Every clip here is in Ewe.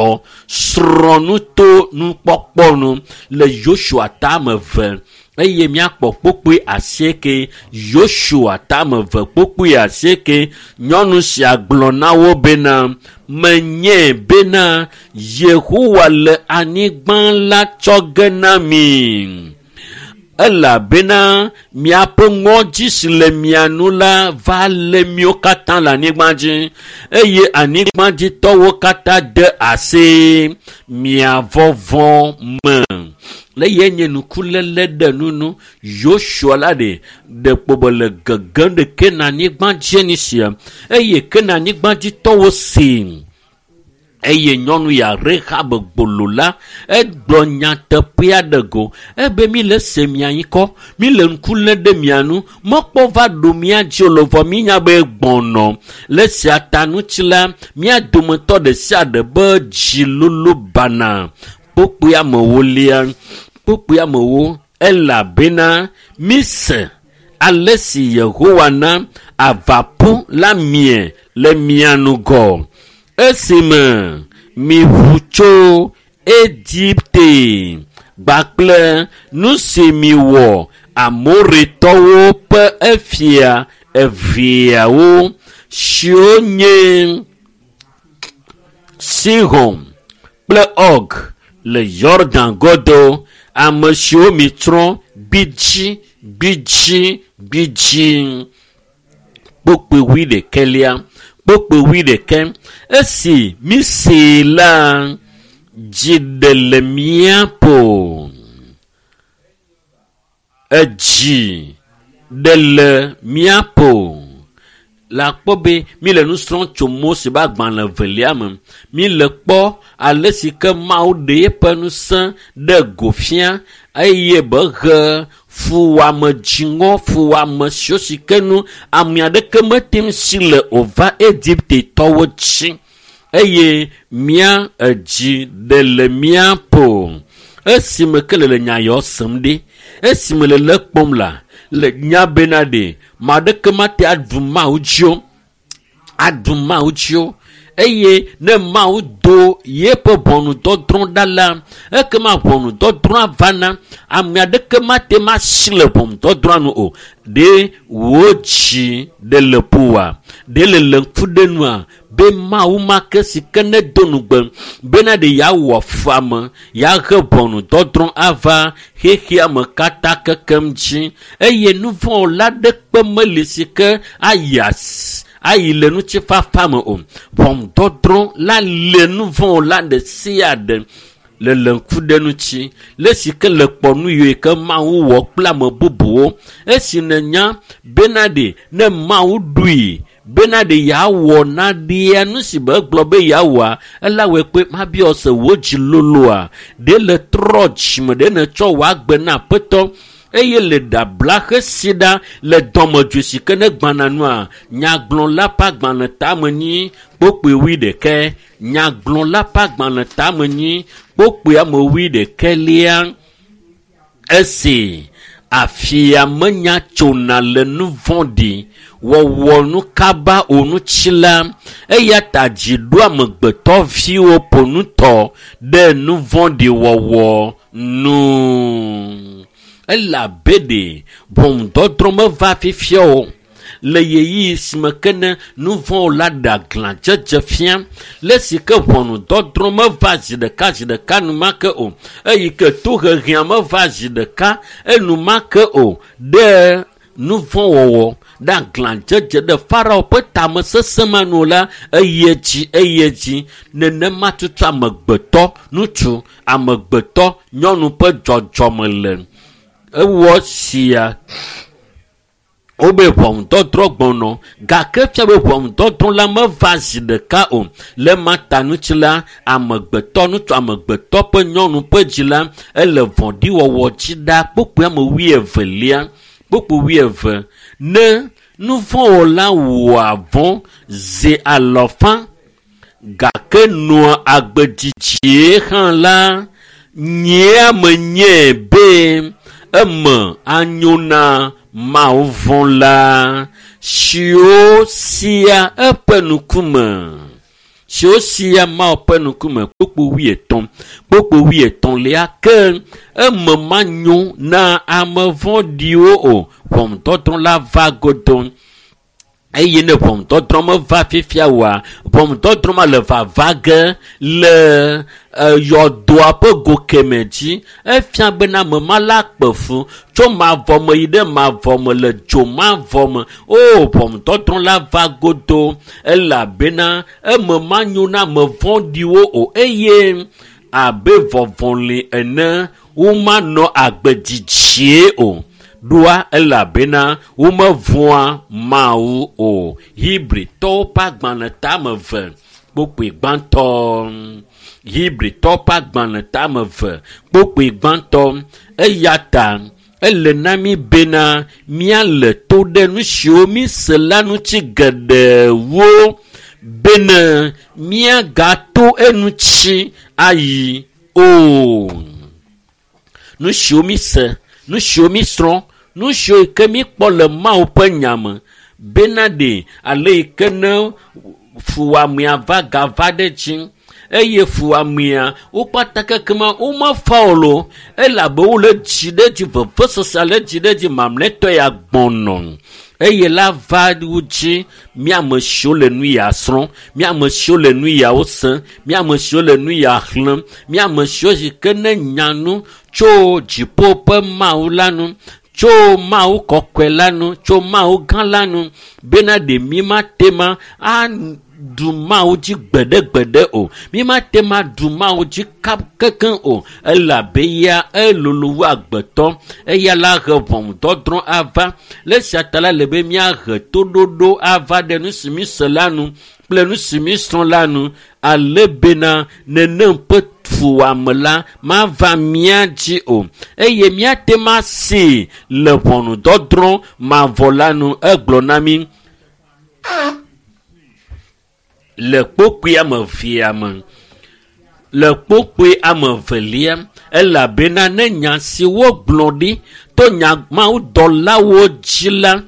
Vavãtɔ. Srɔ̃ nu to nukpɔkpɔ nu le Yosua tame ve eye míakpɔ kpokpoe asieke. Yosua tame ve kpokpoe asieke. Nyɔnu sia gblɔ na wo bena, menye bena Yehowa le anyigba la tsɔ ge na mi. Elabena miaƒe ŋɔdzi si le mia nu la va lé míwo katã le anyigba dzi eye anyigbadzitɔwo katã de asi mia vɔvɔ me. Le ye nye nukuléle ɖe nunu Yosua la ɖe ɖe kpɔbɔ le gegem ɖe Kenanyigba dzi ni sia eye Kenanyigbadzitɔwo see eye nyɔnu ya Rahab gbolo la egblɔ nyateƒea ɖe go ebe mi le se mia ŋkɔ mi le ŋku lé ɖe mia nu mɔkpɔ va ɖo mia dzi o lɔvɔ mi nya be gbɔnɔ le sia ta ŋuti la mía dometɔ ɖe sia ɖe be dzi lolo bana kpokpoe amewo lia kpokpoe amewo elabena mi se ale si Yehowa na avaƒu la mie le mia ŋgɔ esime miʋu tso Egipte gbakple nu si miwɔ Amoritɔwo ƒe efia eveawo siwo nye Sihon kple Og le Yordan godo ame siwo mitsrɔ̃ gbidzi gbidzi gbidzi. Kpokpoe wuiɖekɛlia kpokpoe wuiɖekɛ esi misee la dzi ɖe le mía ƒo edzi ɖe le mía ƒo le akpɔ be mi le nu srɔ̃m tso Mose ƒe agbalẽ evelia me. Mi le kpɔ ale si ke Mawu ɖe eƒe ŋusẽ ɖe go fia eye be he fuwɔame dziŋɔ fuwɔame siwo si ke nu ame aɖeke mete ŋu si le o va Egiptetɔwo dzi eye mía edzi ɖe le mía ƒo. Esime ke le le nya yawo sem ɖe, esime le le kpɔm la, le nya bena ɖe ame aɖeke mate aɖu Mawu dzi o, aɖu Mawu dzi o. Eye ne Mawu do yeƒe ʋɔnudɔdrɔ̃ ɖa la, ekema ʋɔnudɔdrɔ̃a vana. Ame aɖeke mate ŋu asi le ʋɔnudɔdrɔ̃a nu o. Ɖe wò dzi ɖe le ƒoa? Ɖe le le ŋku ɖe nua? Be Mawu ma ke si ke ne do nugbe bena ɖe yeawɔ fuame, yeahe ʋɔnudɔdrɔ̃ ava xexea me katã kekem dzi eye nu vɔ̃wɔla aɖeke meli si ke ayi asi ayi le ŋutifafa me o. Ʋɔnudɔdrɔ̃ la le nu vɔ̃wɔla ɖe sia ɖe le le ŋku ɖe ŋuti le si ke le kpɔ nu yiwo ke Mawu wɔ kple ame bubuwo. Esi nènya bena ɖe ne Mawu ɖui bena ɖe yeawɔ naɖea nu si be egblɔ be yeawɔa, ela wɔe kpe mabiɔ se wò dzi loloa ɖe le trɔ dzime ɖe nètsɔ wò agbe na Aƒetɔ eye le ɖabla xesi ɖa le dɔmedzoe si ke ne gbãna nua nyagblɔla ƒe agbalẽ tame nyi kpokpoe wuiɖekɛ nyagblɔla ƒe agbalẽ tame nyi kpokpoe ame wuiɖekɛlia esi afia menya tsona le nu vɔ̃ɖi wɔwɔ nu kaba o ŋuti la eya ta dzi ɖo amegbetɔviwo ƒo nutɔ ɖe nu vɔ̃ɖi wɔwɔ nu. Elabe ɖe ʋɔnudɔdrɔ̃ meva fifia o. Le ɣeyiɣi si me ke ne nu vɔ̃wɔla ɖe aglãdzedze fia le si ke ʋɔnudɔdrɔ̃ meva zi ɖeka zi ɖeka enumake o eyi ke tohehea meva zi ɖeka enumake o ɖe nu vɔ̃wɔwɔ ɖe aglãdzedze ɖe Farao ƒe tamesesẽ ma nu la eyi edzi eyi edzi nenema tutu amegbetɔ ŋutsu amegbetɔ nyɔnu ƒe dzɔdzɔme le ewɔ sia wobe ʋɔnudɔdrɔ̃ gbɔnɔ gake fia be ʋɔnudɔdrɔ̃ la meva zi ɖeka o le ma ta ŋuti la amegbetɔ ŋutsu amegbetɔ ƒe nyɔnu ƒe dzi la ele vɔ̃ɖiwɔwɔ dzi ɖa kpokpoe ame wuievelia kpokpoe wuieve ne nu vɔ̃wɔla wɔa vɔ̃ zi alɔfa gake nɔa agbe dzidzie hã la nyea menye be eme anyo na Mawu vɔ̃la siwo sia eƒe ŋkume. Siwo sia Mawu ƒe ŋkume kpukpu 30 kpukpu 33 ke eme manyo na ame vɔ̃ɖiwo o. Ʋɔnudɔdrɔ̃ la va godo. Eye ne ʋɔnudɔdrɔ̃ meva fifia oa, ʋɔnudɔdrɔ̃ ma le vava ge le yɔdoa ƒe go keme dzi. Efia bena ame ma la kpe fu tso mavɔ me yi ɖe mavɔ me le dzo mavɔ me. O, ʋɔnudɔdrɔ̃ la va godo elabena eme manyo na ame vɔ̃ɖiwo o eye abe vɔvɔli ene womanɔ agbe didzie o. Ɖoa elabena womevɔ̃a Mawu o. Hebritɔwo ƒe agbalẽ tame 2 kpukpui gbãtɔ. Hebritɔwo ƒe agbalẽ tame 2 kpukpui gbãtɔ. Eya ta ele na mí bena míale to ɖe nu siwo míse la ŋuti geɖewo bene míagato eŋuti ayi o. Nu siwo míse, nu siwo mísrɔ̃, nu siwo ke míkpɔ le Mawu ƒe nya me bena ɖe ale yi ke ne fuwɔamea va gava ɖe dzi eye fuwɔamea wo kpata kekema womefa o lo elabe wole dzi ɖe dzi vevesese le dzi ɖe dzi mamlɛtɔ ya gbɔnɔ eye la va wo dzi. Míame siwo le nu ya srɔ̃, míame siwo le nu yawo se, míame siwo le nu ya xlẽm, míame siwo si ke ne nya nu tso dziƒo ƒe Mawu la nu, tso Mawu kɔkɔe la nu, tso Mawu gã la nu bena ɖe mí mate ma aɖu Mawu dzi gbeɖegbeɖe o. Mí mate ma ɖu Mawu dzi kekeŋ o elabe ya elolo wu agbetɔ. Eya la he ʋɔnudɔdrɔ̃ ava. Le esia ta la le be míahe toɖoɖo ava ɖe nu si míse la nu kple nu si mísrɔ̃ la nu ale bena nenem ƒe fuwɔame la mava mía dzi o eye míate ma see le ʋɔnudɔdrɔ̃ mavɔ la nu. Egblɔ na mí le kpukpui ame evea me, le kpukpui ame evelia, elabena ne nya si wogblɔ ɖi to nya mawudɔlawo dzi la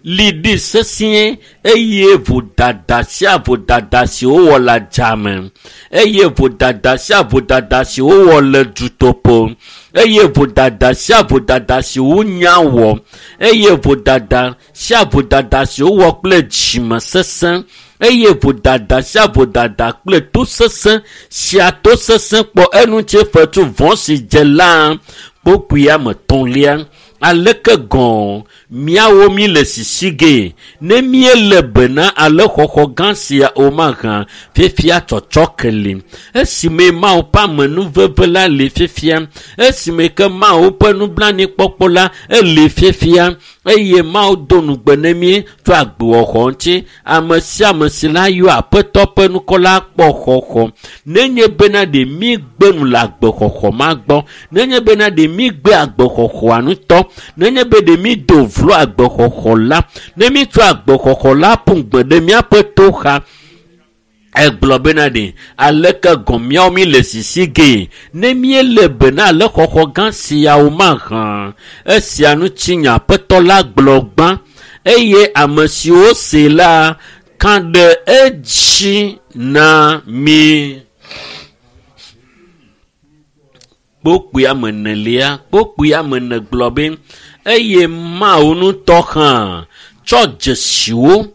li ɖi sesĩe eye vodada sia vodada si wowɔ le adzame eye vodada sia vodada si wowɔ le dutoƒo eye vodada sia vodada si wonya wɔ eye vodada sia vodada si wowɔ kple dzime sesẽ eye vodada sia vodada kple to sesẽ sia to sesẽ kpɔ eŋuti fetu vɔ̃ si dze la kpukpui ame etɔ̃lia. Aleke gɔ̃ míawo mí le sisi ge ne míele bena ale xɔxɔ gã sia o mahã fifia tsɔtsɔ ke li. Esime Mawu ƒe amenuveve la li fifia, esime ke Mawu ƒe nublanuikpɔkpɔ la eli fifia eye Mawu do ŋugbe ne mí tso agbewɔxɔ ŋuti. Ame sia ame si la yɔ Aƒetɔ ƒe ŋkɔ la kpɔ xɔxɔ. Nenye bena ɖe mígbe nu le agbexɔxɔ ma gbɔ, nenye bena ɖe mígbe agbexɔxɔa ŋutɔ, nenye be ɖe mído vlo agbexɔxɔ la, ne mítsɔ agbexɔxɔ la ƒu gbe ɖe míaƒe to xa, egblɔ bena ɖe aleke gɔ̃ míawo mí le sisi ge ne míele bena ale xɔxɔ gã siawo mahã. Esia ŋuti nya Aƒetɔ la gblɔ gbã eye ame siwo se la ka ɖe edzi na mí. Kpukpui ame enelia, kpukpui ame ene gblɔ be eye Mawu ŋutɔ hã tsɔ dzesiwo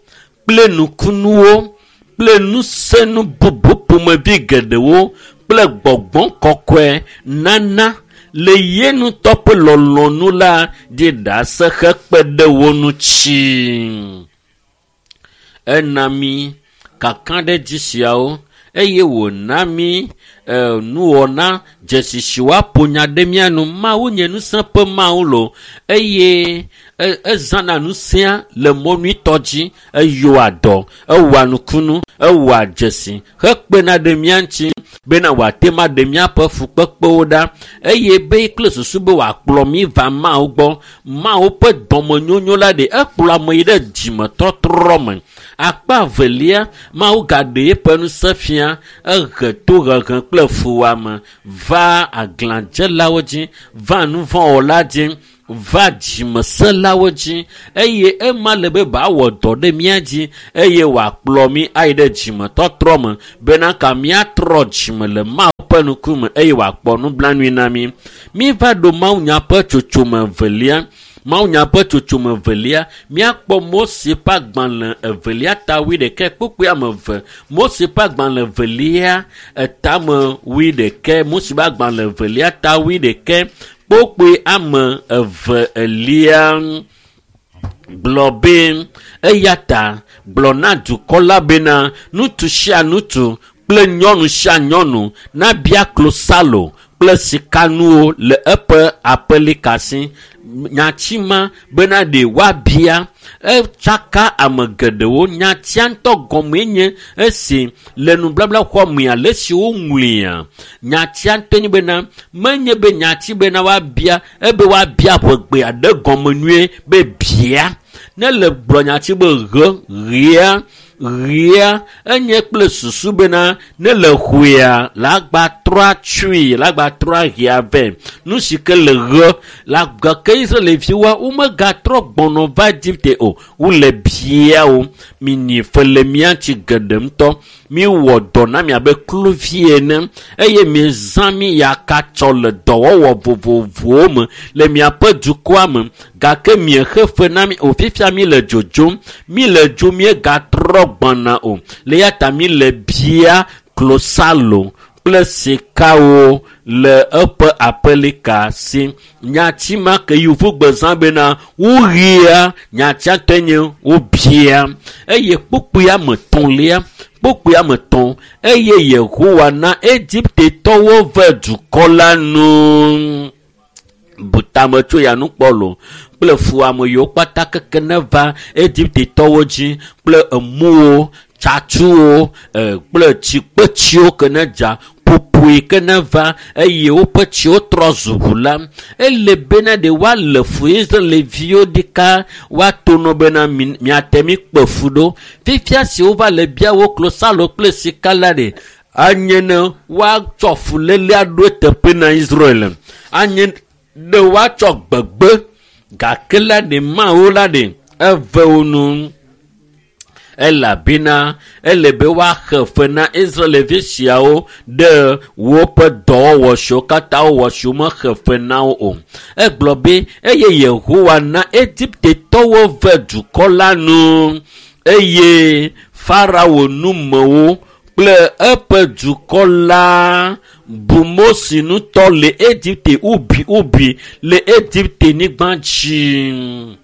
kple nukunuwo kple ŋusẽnu bubu ƒomevi geɖewo kple gbɔgbɔ kɔkɔe nana le ye ŋutɔ ƒe lɔlɔ̃nu la ɖi ɖase hekpe ɖe wo ŋuti. Ena mí kakaɖedzi siawo eye wòna mí nuwɔna dzesi si woaƒo nya ɖe mía nu. Mawu nye ŋusẽ ƒe Mawu lo eye ezãna ŋusẽa le mɔ nyuitɔ dzi. Eyɔa dɔ, ewɔa nukunu, ewɔa dzesi hekpena ɖe mía ŋuti bena wòate ma ɖe míaƒe fukpekpewo ɖa eye be kple susu be wòakplɔ mí va Mawu gbɔ. Mawu ƒe dɔmenyonyo la ɖe ekplɔ ame yi ɖe dzimetɔtrɔ me. Akpa evelia, Mawu gaɖe eƒe ŋusẽ fia, ehe tohehe kple fuwɔame va aglãdzelawo dzi, va nuvɔ̃wɔla dzi, va dzimesẽlawo dzi eye ema le be bawɔ dɔ ɖe mía dzi eye wòakplɔ mí ayi ɖe dzimetɔtrɔ me bena ka míatrɔ dzime le Mawu ƒe ŋkume eye wòakpɔ nublanui na mí. Míva ɖo mawunya ƒe tsotsome evelia. Mawunya ƒe tsotsome evelia, míakpɔ Mose ƒe agbalẽ evelia ta wuiɖekɛ kpukpui ame eve. Mose ƒe agbalẽ evelia etame wuiɖekɛ. Mose ƒe agbalẽ evelia ta wuiɖekɛ kpukpui ame eve elia gblɔ be eya ta gblɔ na dukɔ la bena ŋutsu sia ŋutsu kple nyɔnu sia nyɔnu nabia klosalo kple sikanuwo le eƒe aƒelika si. Nyati ma bena ɖe woabia etsaka ame geɖewo. Nyatia ŋutɔ gɔmee nye esi le nubabla xɔ me ale si woŋlɔea. Nyatia ŋutɔ nye bena menye be nyati bena woabia ebe woabia ʋegbe aɖe gɔme nyuie be bia. Ne le gblɔ nyati be ɣe, ɣea, ɣea enye kple susu bena ne le xɔea la gba trɔa tsui la gba trɔa ɣea vɛ. Nu si ke le ɣe la gake Israelviwoa womegatrɔ gbɔnɔ va Egipte o. Wole bia wo. Minyi fe le mía ŋuti geɖe ŋutɔ. Miwɔ dɔ na mi abe kluvi ene eye miezã mi yakatsɔ le dɔwɔwɔ vovovowo me le miaƒe dukɔa me gake miexe fe na mi o. Fifia mi le dzodzom, mi le dzo miegatrɔ gbɔna o. Le ya ta mi le bia klosalo kple sikawo le eƒe aƒelika si. Nyati ma ke yevugbe zã bena woɣia, nyatia ŋutɔe nye wobia. Eye kpukpui ame etɔ̃lia, kpukpui ame etɔ̃ eye Yehowa na Egiptetɔwo ve dukɔ la nu. Bu tame tso ya nu kpɔ lo kple fuwɔame yiwo kpata keke ne va Egiptetɔwo dzi kple emuwo, tsatsuwo, kple tsikpetsiwo ke ne dza, ƒoƒoe ke ne va eye woƒe tsiwo trɔ zu ʋu la. Ele bena ɖe woalé fu Israelviwo ɖeka woato nɔ bena miate mi kpe fu ɖo. Fifia si wova le bia wo klosalo kple sika la ɖe, anye ne woatsɔ fuléle aɖo eteƒe na Israel. Anye ne woatsɔ gbegbe gake la ɖe Mawu la ɖe eve wo nu. Elabena ele be woaxe fe na Israelvi siawo ɖe woƒe dɔwɔwɔ siwo katã wowɔ siwo mexe fe na wo o. Egblɔ be eye Yehowa na Egiptetɔwo ve dukɔ la nu eye Farao numewo kple eƒe dukɔ la bu Mose ŋutɔ le Egipte ubi le Egipte nyigba dzi.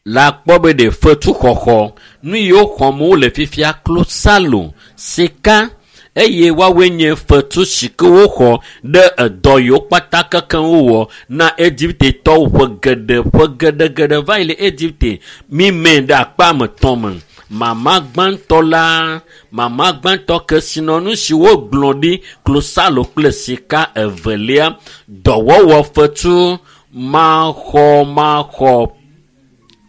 La kpɔ be ɖe fetuxɔxɔ nu yiwo xɔm wole fifia klosalo, sika eye woawoe nye fetu si ke woxɔ ɖe edɔ yiwo kpata kekeŋ wowɔ na Egiptetɔwo ƒe geɖe ƒe geɖegeɖe va yi le Egipte. Mime ɖe akpa ame etɔ̃ me. Mama gbãtɔ la, mama gbãtɔ kesinɔnu si wogblɔ ɖi klosalo kple sika evelia, dɔwɔwɔ fetu maxɔmaxɔ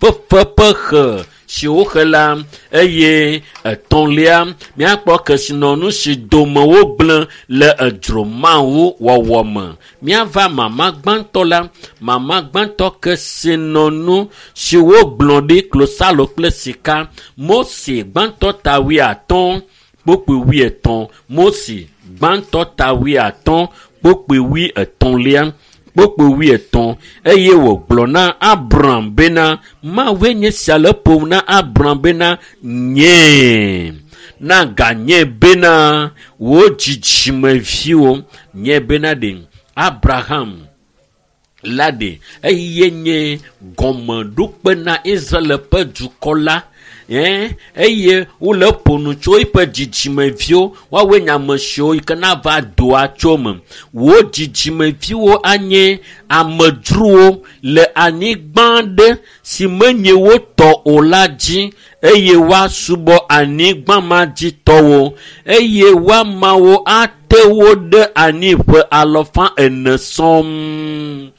fefe ƒe xe si woxe la eye etɔ̃lia míakpɔ kesinɔnu si dome wogblẽ le edzro Mawu wɔwɔ me. Míava mama gbãtɔ la, mama gbãtɔ kesinɔnu si wogblɔ ɖi klosalo kple sika. Mose gbãtɔ ta wuiatɔ̃ kpukpui wuietɔ̃. Mose gbãtɔ ta wuiatɔ̃ kpukpui wuietɔ̃lia. Kpukpui wuietɔ̃ eye wògblɔ na Abram bena Mawue nye sia le ƒom na Abram bena nyee na ganye bena wò dzidzimeviwo nye bena ɖe Abraham la ɖe eye nye gɔmeɖokpe na Israel ƒe dukɔ la. Eye wole ƒo nu tso eƒe dzidzimeviwo woawoe nye ame siwo yi ke nava doa tso me. Wò dzidzimeviwo anye amedzrowo le anyigba ɖe si menye wo tɔ o la dzi eye woasubɔ anyigba ma dzi tɔwo eye woamawo ate wo ɖe anyi ƒe alafa ene sɔŋ.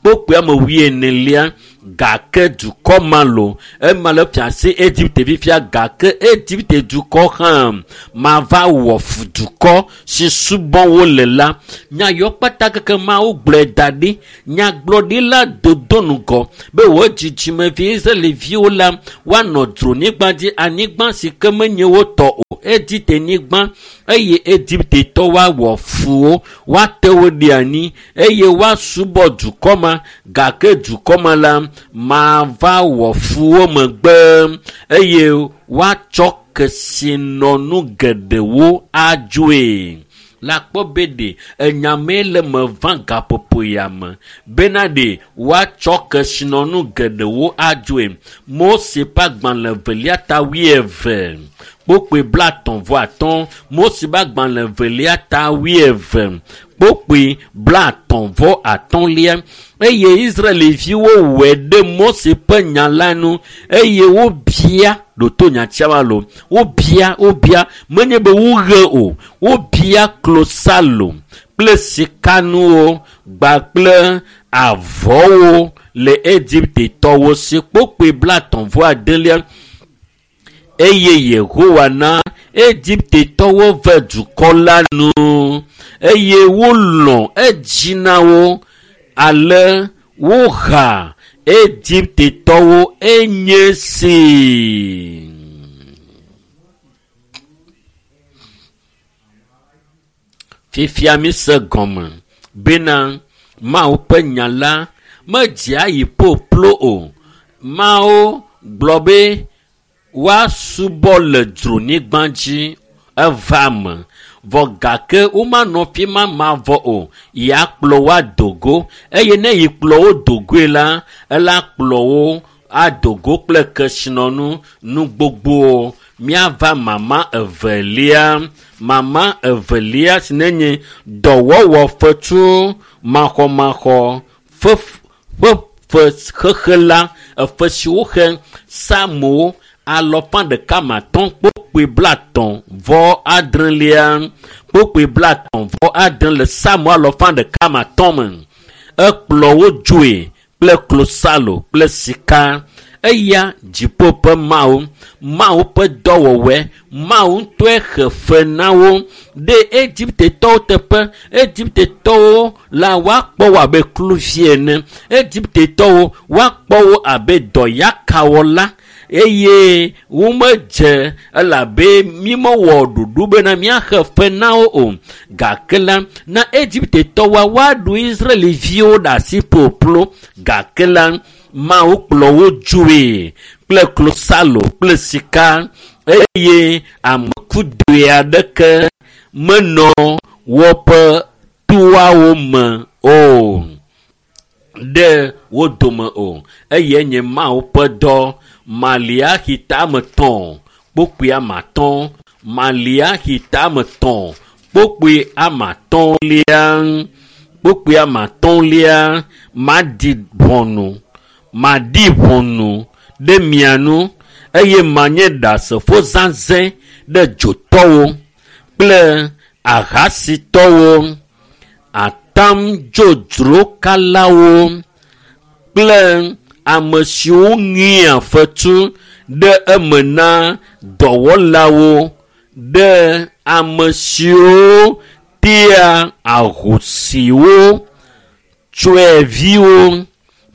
Kpukpui ame wuienelia Gake dukɔ ma lo, ema le fia si Egipte fifia, gake Egipte dukɔ hã mava wɔ fu dukɔ si subɔ wo le la. Nya yɔ kpata keke Mawu gblɔe da ɖi. Nyagblɔɖila dodo ŋgɔ be wò dzidzimevi Israelviwo la woanɔ dzronyigba dzi, anyigba si ke menye wo tɔ o, Egipte nyigba, eye Egiptetɔ woawɔ fu wo, woate wo ɖe anyi eye woasubɔ dukɔ ma, gake dukɔ ma la mava wɔ fu wo megbe eye woatsɔ kesinɔnu geɖewo adzoe. La kpɔ be ɖe enyamee le me va gaƒoƒo ya me bena ɖe woatsɔ kesinɔnu geɖewo adzoe. Mose ƒe agbalẽ evelia ta 20 kpokpoe 35. Mose ƒe agbalẽ evelia ta 20 kpokpoe 35. Eye Israelviwo wɔe ɖe Mose ƒe nya la nu eye wobia ɖoto nyatia lo. Wobia menye be woɣe o, wobia klosalo kple sikanuwo kpakple avɔwo le Egiptetɔwo si kpokpoe 39. Eye Yehowa na Egiptetɔwo ve dukɔ la nu eye wolɔ̃ edzi na wo, ale woha Egiptetɔwo enye si. Fifia mi se gɔme bena Mawu ƒe nya la medzea yi ƒoƒlo o. Mawu gblɔ be woasubɔ le dzronyigba dzi eva me, vɔ gake womanɔ fi ma mavɔ o. Ya kplɔ wo ado go, eye ne yi kplɔ wo do goe la, ela kplɔ wo ado go kple kesinɔnu nu gbogbowo. Míava mama evelia. Mama evelia si nenye dɔwɔwɔ fetu maxɔmaxɔ ƒe xexe la, efe si woxe Psalmo 150 kpokpoe 36. Kpokpoe 36 le Psalmo 150 me. Ekplɔ wo dzoe kple klosalo kple sika. Eya dziƒo ƒe Mawu, Mawu ƒe dɔwɔwɔe, Mawu ŋutɔe xe fe na wo ɖe Egiptetɔwo teƒe. Egiptetɔwo la woakpɔ wo abe kluvi ene. Egiptetɔwo woakpɔ wo abe dɔyakawɔla eye womedze elabe mímewɔ ɖoɖo bena míaxe fe na wo o. Gake la, na Egiptetɔwoa woaɖu Israelviwo ɖe asi ƒoƒlo. Gake la, Mawu kplɔ wo dzoe kple klosalo kple sika eye ame kudoe aɖeke menɔ woƒe toawo me o, ɖe wo dome o. Eye nye Mawu ƒe dɔ. Maliaxi tame 3 kpokpoe 5. Maliaxi tame 3 kpokpoe 5. Kpokpoe 5. Maɖi ʋɔnu ɖe mia nu eye manye ɖasefo zazɛ̃ ɖe dzotɔwo kple ahasitɔwo, atamdzodzrokalawo kple ame siwo ŋea fetu ɖe eme na dɔwɔlawo, ɖe ame siwo tea ahosiwo, tsɔeviwo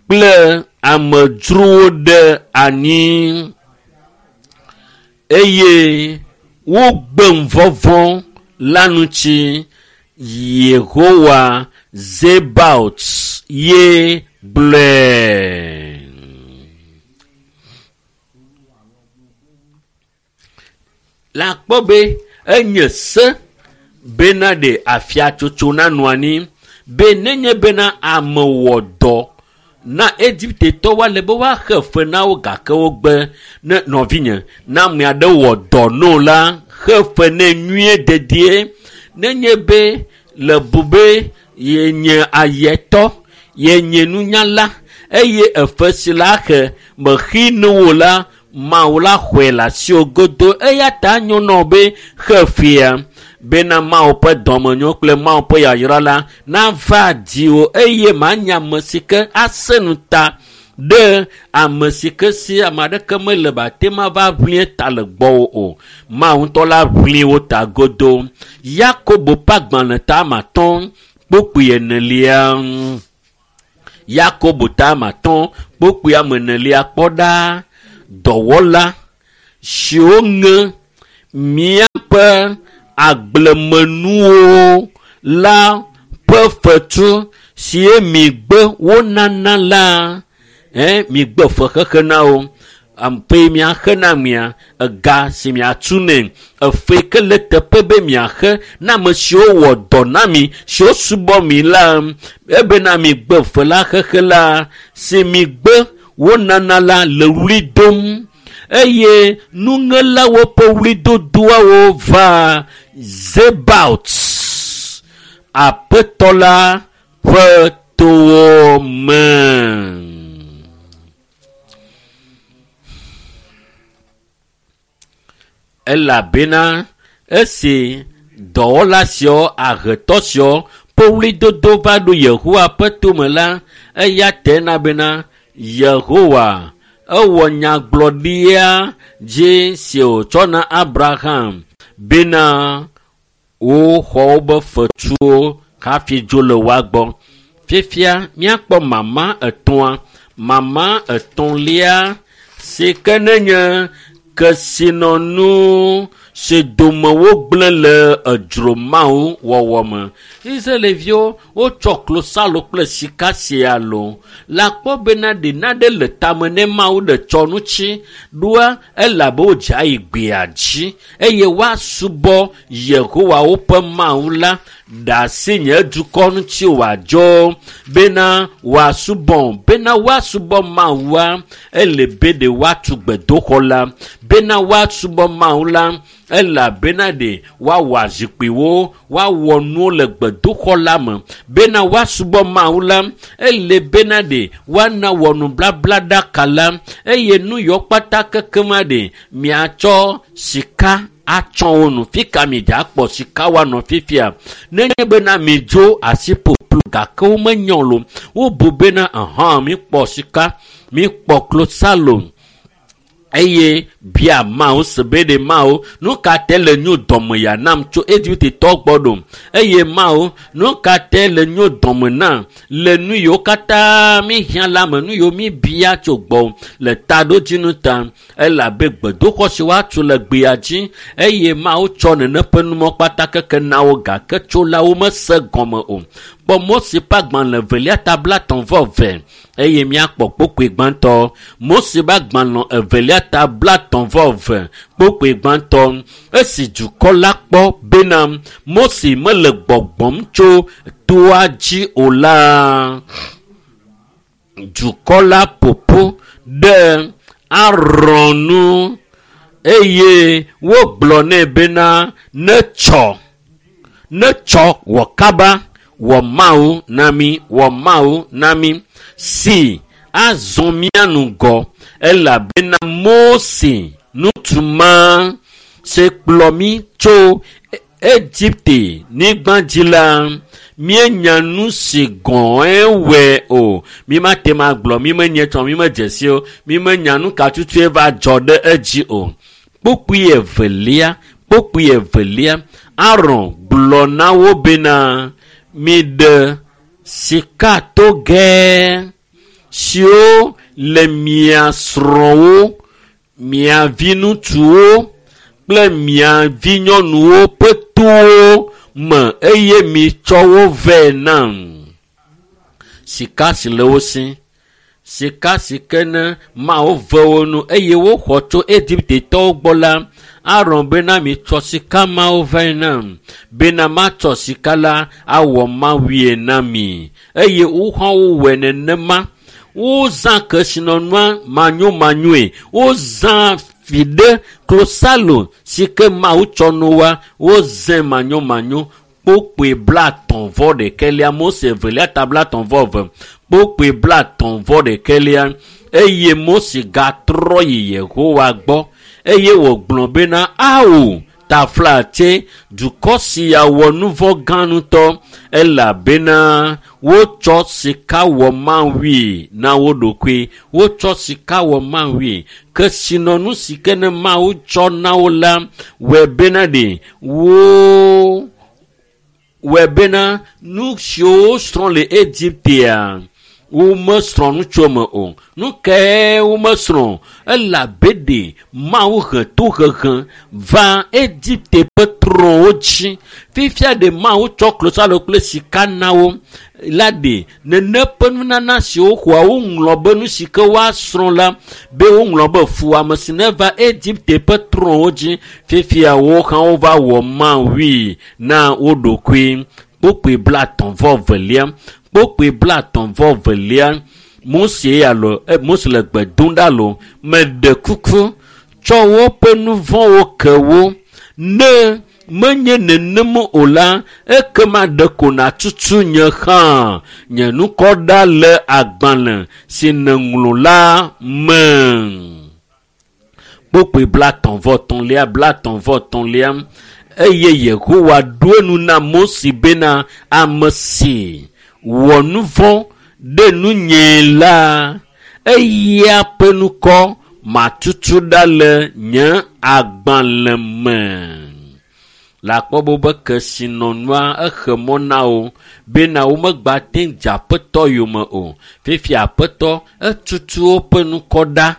kple amedzrowo ɖe anyi, eye wogbem vɔvɔ̃ la ŋuti. Yehowa Zebaot ye gblɔe. La kpɔ be enye se bena ɖe afiatsotso nanɔ anyi, be nenye bena ame wɔ dɔ na Egiptetɔwo ale be woaxe fe na wo, gake wogbe. Ne nɔvinye, ne ame aɖe wɔ dɔ no la, xe fe nɛ nyuie dedie. Nenye be le bu be yenye ayetɔ, yenye nunyala eye efe si la xe mexi nu wo la, Mawu la xɔe le asiwò godo. Eya ta nyo na wò be xe fea bena Mawu ƒe dɔmenyo kple Mawu ƒe yayra la nava dziwò eye manya ame si ke ase nu ta Ɖe ame si ke si ame aɖeke mele ba te ma va ʋlie ta le gbɔwò o. Mawu ŋutɔ la ʋli wo ta godo. Yakobo ƒe agbalẽ ta ame atɔ̃ kpukpui enelia. Yakobo ta ame atɔ̃ kpukpui ame enelia kpɔ ɖa dɔwɔla siwo ŋe míaƒe agblemenuwo la ƒe fetu sie migbe wonana la migbe fexexe na wo. Aƒe miaxe na mia ega si miatu nɛ efe ke le teƒe be miaxe na ame siwo wɔ dɔ na mi siwo subɔ mi la ebena migbe fe la xexe la si migbe wonana la le ɣli dom eye nuŋelawo ƒe ɣlidodoawo va Zebaot aƒetɔ la ƒe towo me. Elabena esi dɔwɔla siawo ahetɔ siawo ƒe ɣlidodo va ɖo Yehowa ƒe tome la, eya te na bena Yehowa ewɔ nyagblɔɖia dzi si wòtsɔ na Abraham bena woxɔ wobe fetuwo hafi dzo le woa gbɔ. Fifia míakpɔ mama etɔ̃a. Mama etɔ̃lia si ke nenye kesinɔnu si dome wogblẽ le edzro Mawu wɔwɔ me. Israelviwo wotsɔ klosalo kple sika sia lo. Le akpɔ bena ɖe naɖe le tame ne Mawu ɖe tsɔ ŋuti ɖoa elabe wodze ayi gbea dzi eye woasubɔ Yehowa woƒe Mawu la ɖe asi nye dukɔ ŋuti wòadzɔ bena wòasubɔ bena woasubɔ Mawua ele be ɖe woatu gbedoxɔ la bena woasubɔ Mawu la elabena ɖe woawɔ azikpuiwo woawɔ nuwo le gbedoxɔ la me bena woasubɔ Mawu la ele bena ɖe woana wɔ nubablaɖaka la eye nu yiwo kpata kekema ɖe miatsɔ sika atsɔ wo nu. Fika mi dza akpɔ sika woanɔ fifia nenye bena midzo asi ƒoƒlu gake womenyɔ lo wobu bena ahã mikpɔ sika mikpɔ klosalo eye bia Mawu se be ɖe Mawu nu ka te le nyo dɔme ya nam tso Egiptetɔwo gbɔ ɖo eye Mawu nu ka te le nyo dɔme nam le nu yiwo katã mi hiã la me nu yiwo mi bia tso gbɔ le taɖodzinu ta elabe gbedoxɔ si woatu le gbea dzi eye Mawu tsɔ nene ƒe numɔ kpata keke na wo gake tso la womese gɔme o. Kpɔ Mose ƒe agbalẽ evelia ta 35 eye míakpɔ kpukpui gbãtɔ. Mose ƒe agbalẽ evelia ta 32 kpukpui gbãtɔ. Esi dukɔ la kpɔ bena Mose mele gbɔgbɔm tso toa dzi o la, dukɔ la ƒoƒu ɖe Aron nu eye wogblɔ nɛ bena netsɔ wɔ kaba wɔ Mawu na mi wɔ Mawu na mi si azɔ mía ŋgɔ elabena Mose ŋutsu ma si kplɔ mí tso Egipte nyigba dzi la míenya nu si gɔ̃e wɔe o. Mímate ŋu agblɔ mímenye tsɔ mímedze si o mímenya nu ka tutue va dzɔ ɖe edzi o. Kpukpui evelia Aron gblɔ na wo bena miɖe sikatogɛ siwo le mia srɔ̃wo, mia viŋutsuwo kple mia vinyɔnuwo ƒe towo me eye mitsɔ wo vɛ nam. Sika si le wo si, sika si ke ne Mawu ve wo nu eye woxɔ tso Egiptetɔwo gbɔ la, Aron bena mitsɔ sika mawo vɛ nam bena matsɔ sika la awɔ mawue na mi eye wohã wowɔe nenema. Wozã kesinɔnua manyomanyoe, wozã viɖe klosalo si ke Mawu tsɔ no wa, wozãe manyomanyo. Kpukpui 31 Mose evelia ta 32 kpukpui 31 eye Mose gatrɔ yi Yehowa gbɔ eye wògblɔ bena ao Taflatse, dukɔ sia wɔ nu vɔ̃ gã ŋutɔ elabena wotsɔ sika wɔ mawui na wo ɖokui. Wotsɔ sika wɔ mawui. Kesinɔnu si ke ne Mawu tsɔ na wo la wɔe bena ɖe wo wɔe bena nu siwo wosrɔ̃ le Egiptea womesrɔ̃ nu tso eme o. Nu kae womesrɔ̃? Elabe ɖe Mawu he tohehe va Egipte ƒe trɔ̃wo dzi. Fifia ɖe Mawu tsɔ klosalo kple sika na wo la ɖe nene ƒe nunana siwo xɔa woŋlɔ be nu si ke woasrɔ̃ la be woŋlɔ be fuwɔame si neva Egipte ƒe trɔ̃wo dzi. Fifia wo hã wova wɔ mawui na wo ɖokui. Kpokpoe 32. Kpokpoe 32. Mose alo Mose le gbe dom ɖa lo meɖe kuku tsɔ woƒe nu vɔ̃wo ke wo ne menye nenem o la ekema ɖeko nàtutu nye hã nye ŋkɔ ɖa le agbalẽ si nèŋlɔ la me. Kpokpoe 33 33. Eye Yehowa ɖo enu na Mose bena ame si wɔ nu vɔ̃ ɖe nunye la eya ƒe ŋkɔ matutu ɖa le nye agbalẽ me. Le akpɔ be wobe kesinɔnua exe mɔ na wo bena womegba te dze aƒetɔ yome o. Fifia aƒetɔ etutu woƒe ŋkɔ ɖa.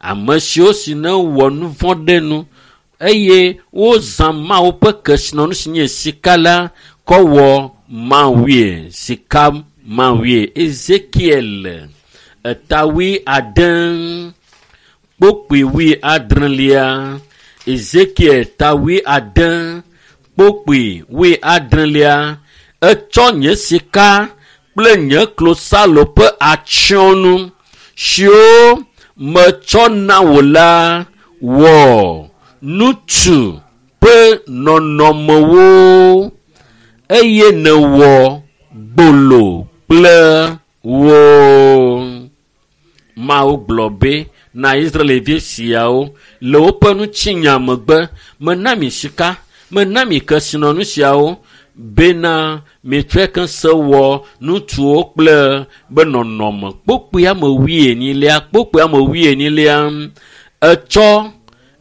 Ame siwo si ne wɔ nu vɔ̃ ɖe nu eye wozã Mawu ƒe kesinɔnu si nye sika la kɔ wɔ mawue sika mawue. Ezekiel eta 70 kpokpoe 70. Ezekiel ta 70 kpokpoe 70. Etsɔ nye sika kple nye klosalo ƒe atsyɔ̃nu siwo metsɔ na wò la wɔ ŋutsu ƒe nɔnɔmewo eye nèwɔ gbolo kple wo. Mawu gblɔ be na Israelvi siawo le woƒe ŋutinya megbe mena mi sika, mena mi kesinɔnu siawo bena mitsɔe ke se wɔ ŋutsuwo kple be nɔnɔme. Kpokpoe ame 40 kpokpoe ame 40 etsɔ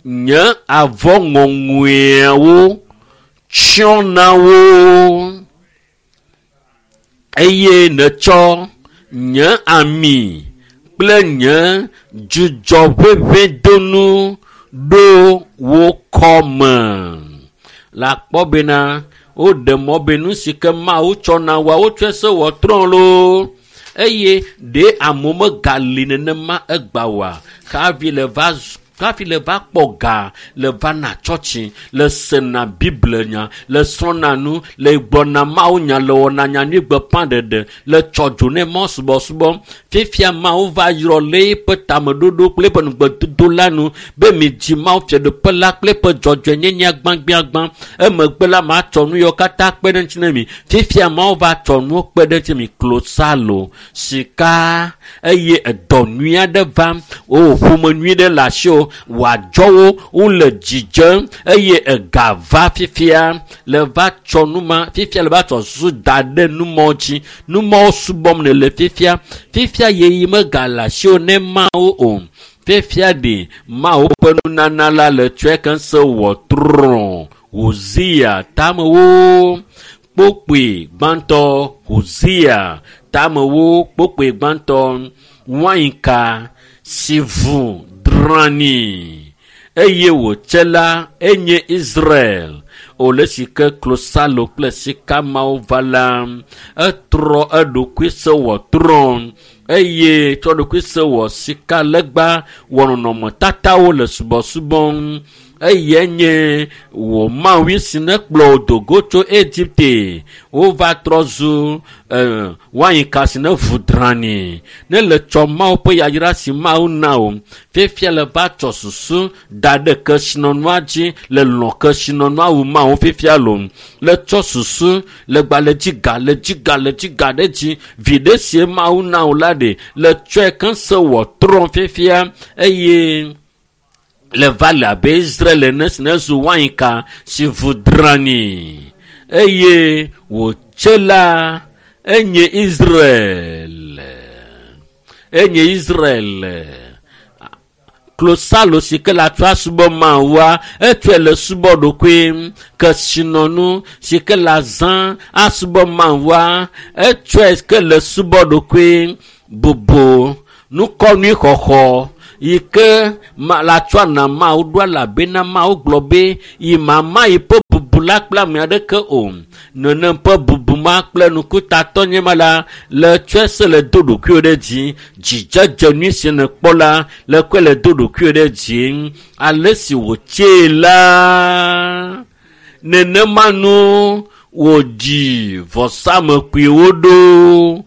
nye avɔ ŋɔŋɔeawo tsyɔ na wo eye nètsɔ nye ami kple nye dzudzɔʋeʋẽdonu ɖo wo kɔme. Le akpɔ bena woɖe mɔ be nu si ke Mawu tsɔ na woa wotsɔe se wɔ trɔ̃ loo eye ɖe amewo megali nenema egba oa hafi le va hafi le va kpɔ ga le va na tsɔtsi le sena Bible nya le srɔ̃na nu le gblɔna Mawu nya le wɔna nyanyui gbeƒã ɖeɖe le tsɔ dzo ne mɔ subɔsubɔ. Fifia Mawu va yrɔ le eƒe tameɖoɖo kple eƒe nugbedodo la nu be midzi Mawu fiaɖuƒe la kple eƒe dzɔdzɔenyenye gbãgbãgbã. Emegbe la matsɔ nu yiwo katã kpe ɖe ŋuti na mi. Fifia Mawu va tsɔ nuwo kpe ɖe ŋuti mi klosalo, sika eye edɔ nyui aɖe va o ƒome nyui ɖe le asiwò wòadzɔ wo wole dzidzem eye ega va fifia le va tsɔ numa fifia le va tsɔ susu da ɖe numɔwo dzi. Numɔwo subɔm nèle fifia. Fifia yeyi megale asiwò ne Mawu o. Fifia ɖe Mawu ƒe nunana la le tsɔe keŋ se wɔ trɔ̃. Hosea tamewo kpokpoe gbãtɔ. Hosea tamewo kpokpoe gbãtɔ. Wainka si vu drani eye wòtse la enye Israel. Wòle si ke klosalo kple sika mawo va la etrɔ eɖokui se wɔ trɔ̃ eye tsɔ ɖokui se wɔ sika legba wɔ nɔnɔmetatawo le subɔsubɔm eye nye wò Mawu si ne kplɔ wò do go tso Egipte wova trɔ zu wainka si ne vu drani ne le tsɔ Mawu ƒe yayra si Mawu na wò fifia le va tsɔ susu da ɖe kesinɔnua dzi le lɔ̃ kesinɔnua wu Mawu fifia lo le tsɔ susu le gba le dzi ga le dzi ga le dzi ga ɖe dzi viɖe sie Mawu na wò la ɖe le tsɔe keŋ se wɔ trɔ̃ fifia eye Le va le abe Israel ene si ne zu wainka si vu drani eye wòtse la enye Israel. Enye Israel. Klosalo si ke le atsɔ asubɔ Mawua, etsɔe le subɔ ɖokoe. Kesinɔnu si ke le azã asubɔ Mawua, etsɔe ke le subɔ ɖokoe. Bubu, nukɔnui xɔxɔ yi ke ma le atsɔ ana Mawu ɖo elabena Mawu gblɔ be yi mama yi ƒe bubu la kple ame aɖeke o. Nenem ƒe bubu ma kple nukutatɔ nye ma la le tsɔe se le do ɖokuiwo ɖe dzi. Dzidzedze nyui si nèkpɔ la le kɔe le do ɖokuiwo ɖe dzi. Ale si wòtsee la, nenema nu wòdzi vɔsamekpuiwo ɖo.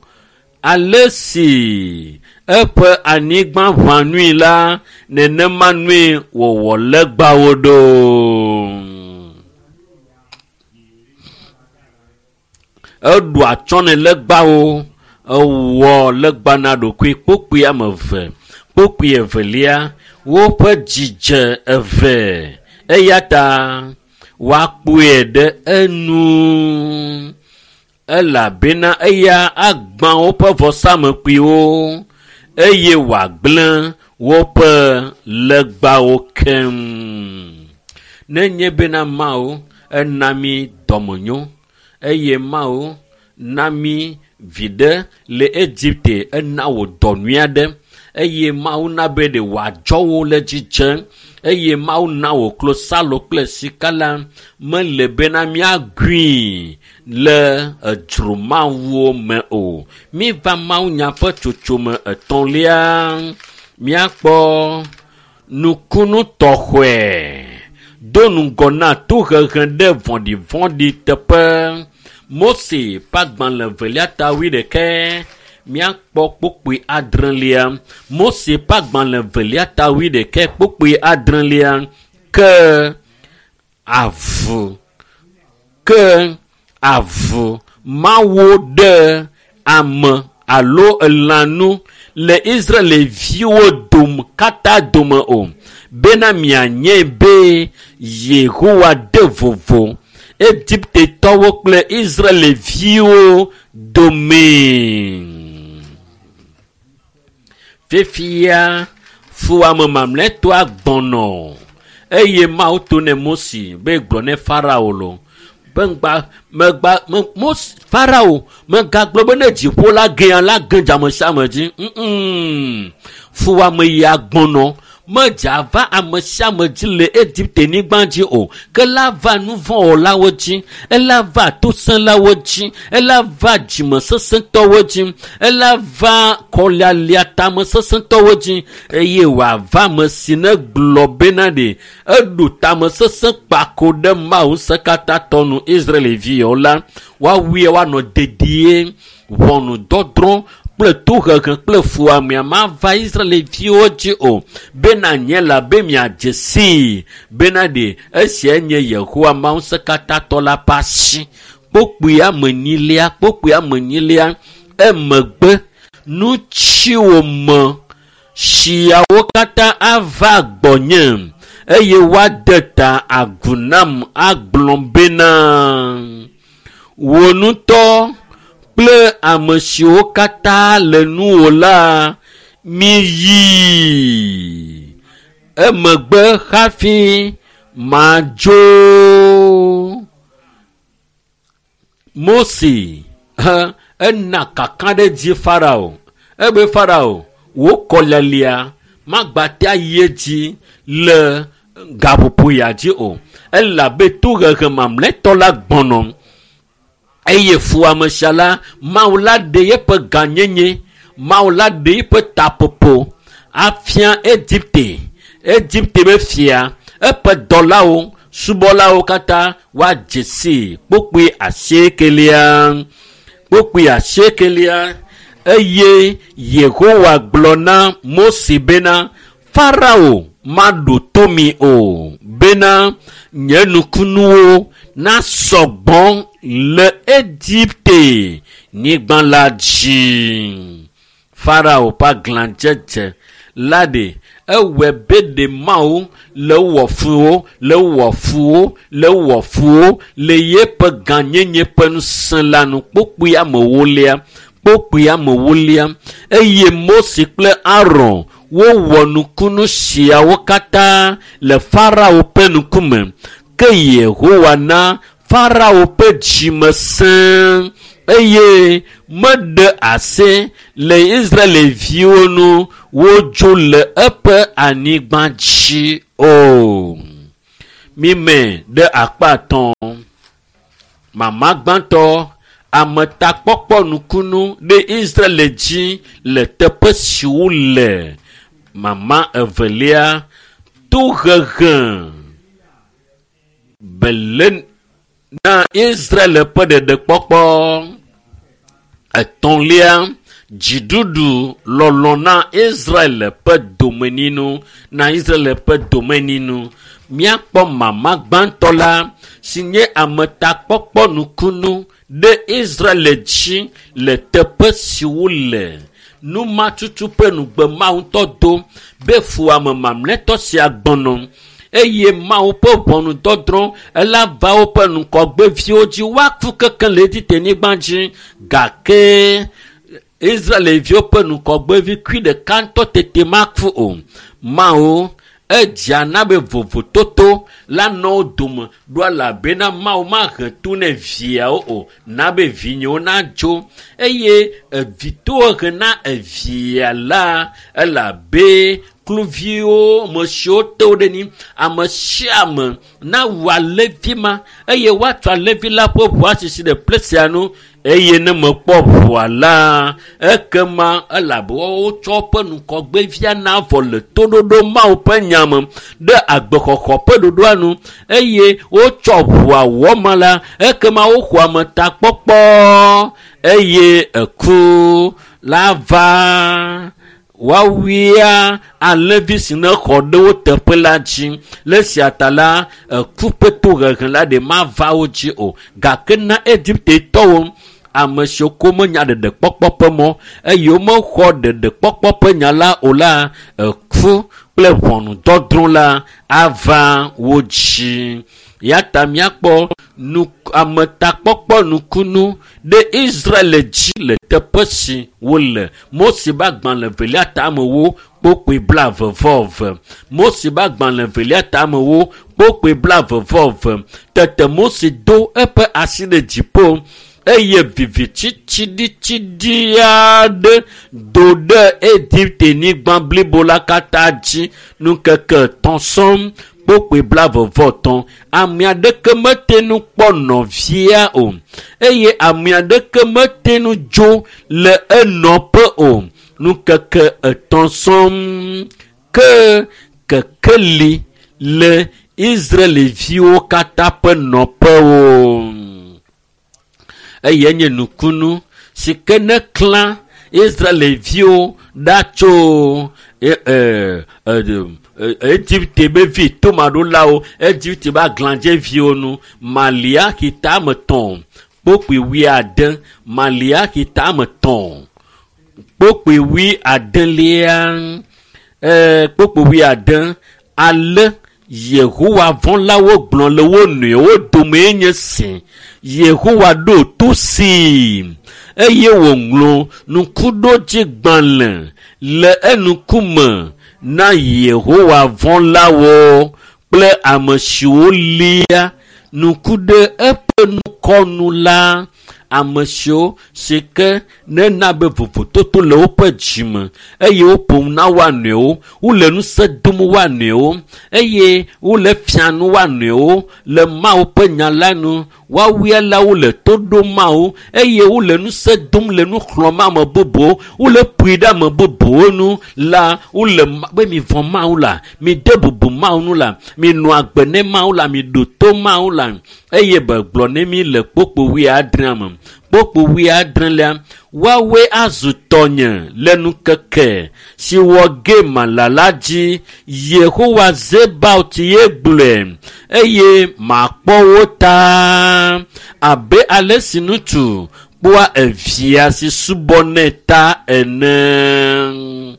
Ale si eƒe anyigba ʋã nui la, nenema nue wòwɔ legbawo ɖo. Eɖu atsyɔ̃ ne legbawo, ewɔ legba na ɖokui kpokpui ame eve, kpokpui evelia, woƒe dzidze eve eya ta woakpɔe ɖe enu elabena eya agbã woƒe vɔsamekpuiwo eye wòagblẽ woƒe legbawo keŋ. Nenye bena Mawu ena mí dɔmenyo eye Mawu na mí viɖe le Egipte ena wò dɔ nyui aɖe eye Mawu na be ɖe wòadzɔ wo le dzidze eye Mawu na wò klosalo kple sika la mele bena míagui le edzromawuwo me o. Míva Mawunya ƒe tsotsome etɔ̃lia míakpɔ nukunu tɔxɔe do ŋgɔ na tohehe ɖe vɔ̃ɖivɔ̃ɖi teƒe. Mose ƒe agbalẽ evelia ta wuiɖekɛ míakpɔ kpukpui adrelia. Mose ƒe agbalẽ evelia ta wuiɖekɛ kpukpui adrelia ke avu ke avu mawo ɖe ame alo elãnu le Israelviwo dome katã dome o bena mianye be Yehowa de vovo Egiptetɔwo kple Israelviwo dome. Fifia fuwɔame mamlɛtɔa gbɔnɔ eye Mawu to ne Mose be gblɔ ne Farao lo be ŋgba megba me Mose Farao megagblɔ be ne dziƒo la gea la ge dze ame sia ame dzi. Mm fuwɔame ya gbɔnɔ medza va ame sia ame dzi le Egipte nyigba dzi o ke la va nuvɔ̃wɔlawo dzi, ela va tosẽlawo dzi, ela va dzimesesẽtɔwo dzi, ela va kɔlialia tamesesẽtɔwo dzi eye wòava ame si ne gblɔ bena ɖe eɖu tamesesẽ kpako ɖe Mawu ŋusẽkatãtɔ nu Israelviwo la, woawui woanɔ dedie ʋɔnudɔdrɔ̃ kple tohehe kple fuwɔamea mava Israelviwo dzi o bena nye la be miadze sii bena ɖe esia nye Yehowa Mawu ŋusẽkatãtɔ la ƒe asi. Kpokpui ame enyilia kpokpui ame enyilia emegbe nutsiwo me tsiawo katã ava gbɔnye eye woade ta agu nam agblɔ bena wò ŋutɔ kple ame siwo katã le nuwò la miyi emegbe hafi madzo. Mose he ena kakaɖedzi Farao ebe Farao wò kɔlialia magbate ayi edzi le gaƒoƒo ya dzi o elabe tohehe mamlɛtɔ la gbɔnɔ eye fuwɔame sia la Mawu la ɖe eƒe gãnyenye Mawu la ɖe eƒe taƒoƒo afia Egipte Egipte be fia eƒe dɔlawo subɔlawo katã woadze sii kpokpui asiekelia kpokpui asiekelia eye Yehowa gblɔ na Mose bena Farao maɖo to mi o bena nye nukunuwo nasɔ gbɔ le Egipte nyigba la dzi. Farao ƒe aglãdzedze la ɖe ewɔe be ɖe Mawu le wɔ fu le wɔ fu le wɔ fu le yeƒe gãnyenye ƒe ŋusẽ la nu. Kpokpui amewolia, kpokpui amewolia. Eye Mose kple Aron wowɔ nukunu siawo katã le Farao ƒe ŋkume. Ke Yehowa na Farao ƒe dzime sẽ eye meɖe asi le Israelviwo nu wodzo le eƒe anyigba dzi o. Mime ɖe akpa etɔ̃. Mama gbãtɔ, ametakpɔkpɔ nukunu ɖe Israel dzi le teƒe si wole. Mama evelia, tohehe bele na Israel ƒe ɖeɖekpɔkpɔ. Etɔ̃lia, dziɖuɖu lɔlɔ na Israel ƒe domenyinu, na Israel ƒe domenyinu. Míakpɔ mama gbãtɔ la si nye ametakpɔkpɔ nukunu ɖe Israel dzi le teƒe si wole. Numatutu ƒe nugbe Mawu ŋutɔ do be fuwɔame mamlɛtɔ sia gbɔnɔ eye Mawu ƒe ʋɔnudɔdrɔ̃ ela va woƒe ŋgɔgbeviwo dzi woaku kekeŋ le Egipte-nyigba dzi. Gake Israelviwo ƒe ŋgɔgbevi kui ɖeka ŋutɔ tete maku o. Mawu edzea na be vovototo la nɔ wo dome ɖo elabena Mawu mahe to ne viawo o na be vinyewo nadzo eye evitohehe na evia la elabe kluviwo ame siwo te wo ɖe ni ame sia ame nawu alẽvi ma eye woatsɔ alẽvi la ƒe ʋu asisi ɖe ple sia nu eye ne mekpɔ ʋua la ekema elabe wotsɔ woƒe ŋgɔgbevia na vɔ le toɖoɖo Mawu ƒe nya me ɖe agbexɔxɔ ƒe ɖoɖoa nu eye wotsɔ ʋua wɔ ma la ekema woxɔ ametakpɔkpɔ eye eku la va woawia alẽvi si ne xɔ ɖe wo teƒe la dzi. Le esia ta la, eku ƒe tohehe la ɖe mava wo dzi o. Gake na Egiptetɔwo, ame siwo ko menya ɖeɖekpɔkpɔ ƒe mɔ eye womexɔ ɖeɖekpɔkpɔ ƒe nya la o la, eku kple ʋɔnudɔdrɔ̃ la ava wo dzi. Ya ta míakpɔ ametakpɔkpɔ nukunu ɖe Israel dzi le teƒe si wole. Mose ƒe agbalẽ evelia ta amewo kpokpoe blaeve-vɔ-eve. Mose ƒe agbalẽ evelia ta amewo kpokpoe blaeve-vɔ-eve. Tete Mose do eƒe asi ɖe dziƒo eye viviti tsiɖitsiɖi aɖe do ɖe Egipte-nyigba blibo la katã dzi ŋkeke etɔ̃ sɔŋ kpokpoe blaeve-vɔ-etɔ̃. Ame aɖeke mete ŋu kpɔ nɔvia o eye ame aɖeke mete ŋu dzo le enɔƒe o. Ŋkeke etɔ̃ sɔŋ ke kekeli le Israelviwo katã ƒe nɔƒewo. Eye nye nukunu si ke ne klã Israelviwo ɖa tso Egipte be vi tomaɖolawo, Egipte be aglãdzeviwo nu. Maliaxi ta ame etɔ̃ kpokpoe wuiade. Maliaxi ta ame etɔ̃ kpokpoe wuiadelia kpokpoe wuiade. Ale Yehowa vɔ̃lawo gblɔ le wo nɔewo dome nye si. Yehowa ɖo to si eye wòŋlɔ ŋkuɖodzigbalẽ le eŋkume na Yehowa vɔ̃lawo kple ame siwo lia ŋku ɖe eƒe ŋkɔ nu la. Ame siwo si ke nena be vovototo le woƒe dzime eye woƒo nu na woa nɔewo, wole ŋusẽ dom woa nɔewo eye wole fia nu woa nɔewo le Mawu ƒe nya la nu. Woawoe la wole to ɖom Mawu eye wole ŋusẽ dom le nu xlɔ̃m ame bubuwo, wole ƒoe ɖe ame bubuwo nu la, wole be mivɔ̃ Mawu la, mide bubu Mawu nu la, minɔ agbe ne Mawu la, miɖo to Mawu la. Eye begblɔ ne mi le kpokpo wuiadrea me. Kpokpo wuiadrelia, woawoe azu tɔnye le ŋkeke si wɔ ge mala la dzi. Yehowa Zebaot ye gblɔe eye makpɔ wo ta abe ale si ŋutsu kpɔa evia si subɔnɛ ta ene.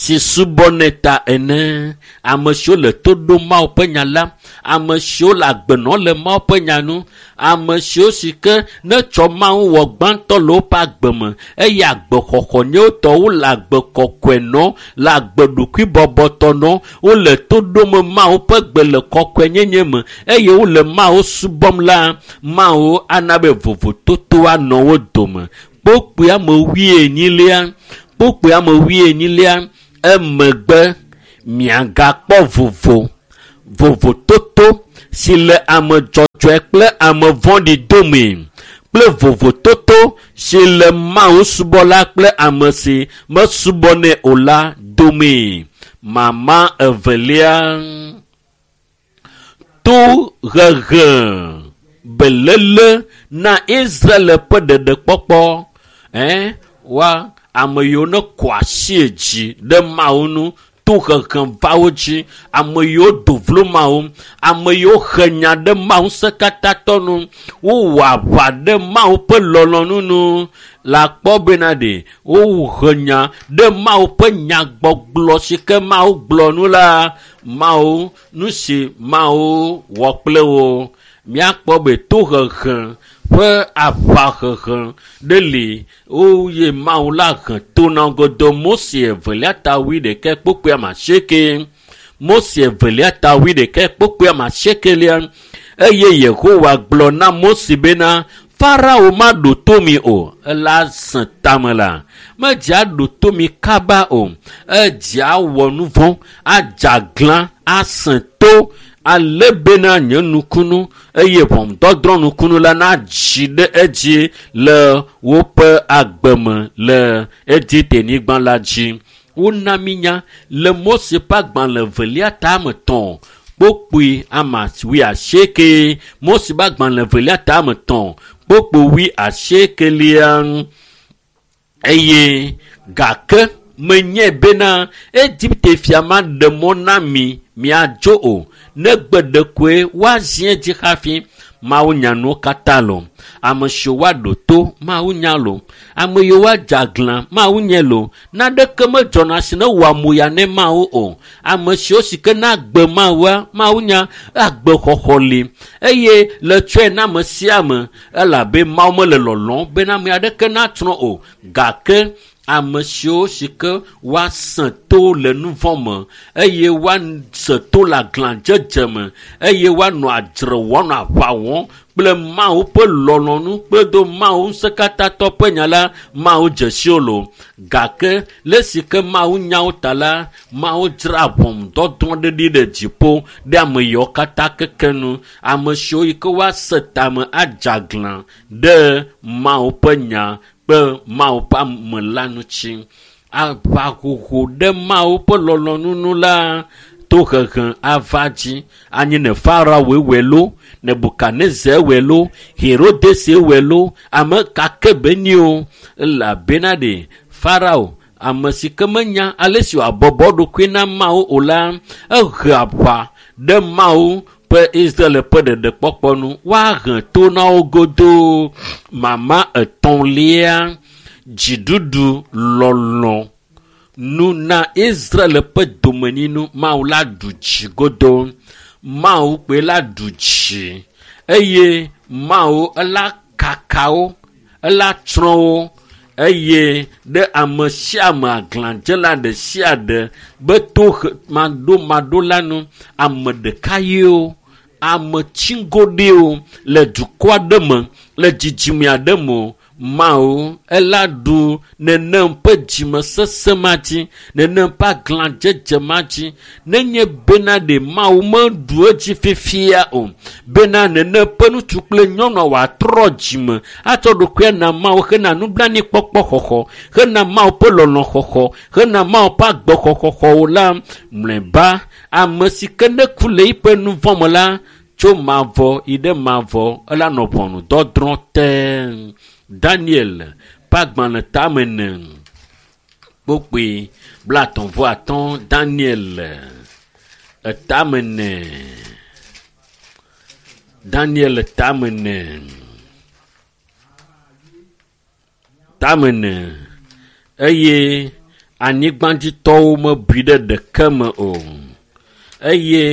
si subɔnɛ ta ene. Ame siwo le to ɖom Mawu ƒe nya la, ame siwo le agbe nɔm le Mawu ƒe nya nu, ame siwo si ke netsɔ Mawu wɔ gbãtɔ le woƒe agbe me eye agbexɔxɔ nye wotɔ wole agbe kɔkɔe nɔ, le agbe ɖokuibɔbɔtɔ nɔ, wole to ɖom Mawu ƒe gbe le kɔkɔenyenye me eye wole Mawu subɔm la, Mawu ana be vovototo anɔ wo dome. Kpokpui ame wuienyilia, kpokpui ame wuienyilia, emegbe miagakpɔ vovo, vovototo si le ame dzɔdzɔe kple ame vɔ̃ɖi dome kple vovototo si le Mawu subɔla kple ame si mesubɔnɛ o la dome. Mama evelia, to hehe belele na Israel ƒe ɖeɖekpɔkpɔ. Wa ame yiwo ne kɔ asi dzi ɖe Mawu nu to hehe va wo dzi, ame yiwo do vlo Mawu, ame yiwo he nya ɖe Mawu ŋusẽkatãtɔ nu, wowɔ aʋa ɖe Mawu ƒe lɔlɔ̃nu nu. Le akpɔ bena ɖe wohe nya ɖe Mawu ƒe nyagbɔgblɔ si ke Mawu gblɔ nu la, Mawu nu si Mawu wɔ kple wo. Míakpɔ be tohehe ƒe aʋahehe ɖe li woye Mawu la he to na godo. Mose evelia ta wuiɖekɛ kpokpui ame asieke. Mose evelia ta wuiɖekɛ kpokpui ame asiekelia. Eye Yehowa gblɔ na Mose bena, Farao maɖo to mi o, ela sẽ tame la. Medze aɖo to mi kaba o, edze awɔ nu vɔ̃, adze aglã, asẽ to, ale bena nye nukunu eye ʋɔnudɔdrɔ̃ nukunu la nadzi ɖe edzi le woƒe agbe me le Egipte-nyigba la dzi. Wona mi nya le Mose ƒe agbalẽ evelia ta ame etɔ̃ kpokpui ame wuiasieke. Mose ƒe agbalẽ evelia ta ame etɔ̃ kpokpui wuiasiekelia. Eye gake menye bena Egipte fia maɖe mɔ na mi miadzo o, negbe ɖekoe woazi edzi hafi. Mawu nya nuwo katã lo. Ame siwo woaɖo to Mawu nya lo. Ame yiwo woadze aglã Mawu nye lo. Naneke medzɔna si ne wɔ amoya ne Mawu o. Ame siwo si ke na agbe Mawua, Mawu nya agbexɔxɔ li eye le tsɔe na ame sia ame elabe Mawu mele lɔlɔ̃m bena ame aɖeke natsrɔ̃ o. Gake ame siwo si ke woasẽ to le nu vɔ̃ me eye woase to le aglãdzedze me eye woanɔ adzre wɔm, anɔ aʋa wɔm kple Mawu ƒe lɔlɔ̃nu kple do Mawu ŋusẽkatãtɔ ƒe nya la, Mawu dze si wo lo. Gake le esi ke Mawu nya wo ta la, Mawu dzra ʋɔnudɔdrɔ̃ ɖe ɖi ɖe dziƒo ɖe ame yiwo katã keke nu. Ame siwo yi ke woase tame adze aglã ɖe Mawu ƒe nya kple Mawu ƒe ame la ŋuti. Aʋahoho ɖe Mawu ƒe lɔlɔ̃nu nu la, tohehe ava dzi. Anyi ne Farao wɔe lo, Nebukadnezar wɔe lo, Herodes wɔe lo, ame ka ke be ni o. Elabena ɖe Farao, ame si ke menya ale si wòabɔbɔ eɖokui na Mawu o la, ehe aʋa ɖe Mawu ƒe Israel ƒe ɖeɖekpɔkpɔ nu. Woahe to na wo godoo. Mama etɔ̃lia, dziɖuɖu lɔlɔ̃ nu na Israel ƒe domenyinu. Mawu la ɖu dzi godoo. Mawu kpoe la ɖu dzi eye Mawu ela kaka wo, ela tsrɔ̃ wo eye ɖe ame sia ame aglãdzela ɖe sia ɖe be to maɖomaɖo la nu, ame ɖeka yewo, ame tsiŋgoɖewo le dukɔ aɖe me, le dzidzime aɖe me o. Mawu ela ɖu nenem ƒe dzimesesẽ ma dzi, nenem ƒe aglãdzedze ma dzi. Nenye bena ɖe Mawu meɖu edzi fifia o, bena nenem ƒe ŋutsu kple nyɔnua wòatrɔ dzime atsɔ ɖokuia na Mawu hena nublanuikpɔkpɔ xɔxɔ, hena Mawu ƒe lɔlɔ̃ xɔxɔ, hena Mawu ƒe agbexɔxɔxɔwo la, mlɔeba ame si ke ne ku le eƒe nu vɔ̃ me la, tso mavɔ yi ɖe mavɔ ela nɔ ʋɔnudɔdrɔ̃ te. Daniel ƒe agbalẽ tame ene kpokpui blaetɔ̃ vɔ atɔ̃. Daniel etame ene. Daniel tame ene. Tame ene. Eye Anyigbadzitɔwo mebui ɖe ɖeke me o eye